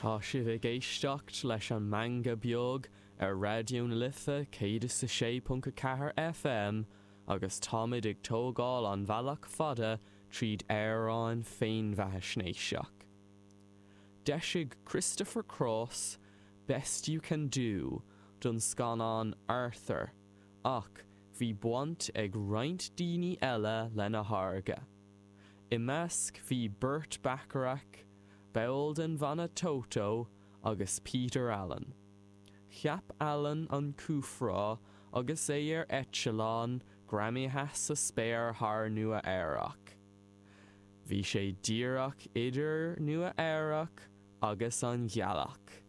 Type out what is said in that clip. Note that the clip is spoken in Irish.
Tá sibh ag éisteacht leis an Meangadh Beag ar Raidió na Life 106.4 FM agus táimid ag tógáil an bhealach fada tríd amhráin féinbheathaisnéiseach. D'eisigh Christopher Cross Best You Can Do don scannán Arthur ach bhí baint ag roinnt daoine eile lena tháirgeadh. I measc bhí Burt Bacharach, ball den bhanna Toto agus Peter Allen. Cheap Allen an cúfrá agus é ar eitleán greamaithe sa spéir thar Nua Eabhrac. Bhí sé díreach idir Nua Eabhrac agus an ghealach.